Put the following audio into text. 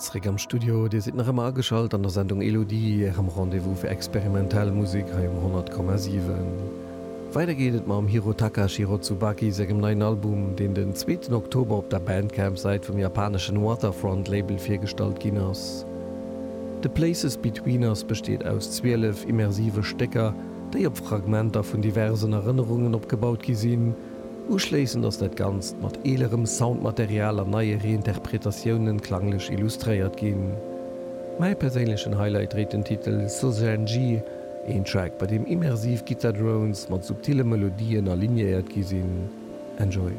Zréck am Studio, Dir sidd nach ëmmer ageschalt an der Sendung Elodie, Ärem Rendez-vous fir experimentell Musek hei um 100,7. Weider geet et mam Hirotaka Shirotsubaki sengem neien Album, deen den zweeten Oktober op der Bandcamp-Säit vum japaneschen Waterfront Label virgestallt ginn ass. The Places Between Us besteet aus 12 immersive Stécker, déi op Fragmenter vun diversen Erënnerungen opgebaut gi sinn. Uschléissend ass dat Ganzt mat eelerem Soundmaterial an neie Reinterpretatiounen klanglech illustréiert ginn. Mäi perséinlechen Highlight dréit den Titel Sozenji, een Track bei deem immersiv Gittar-Drones mat subtille Melodien alignéiert gi sinn. Enjoy!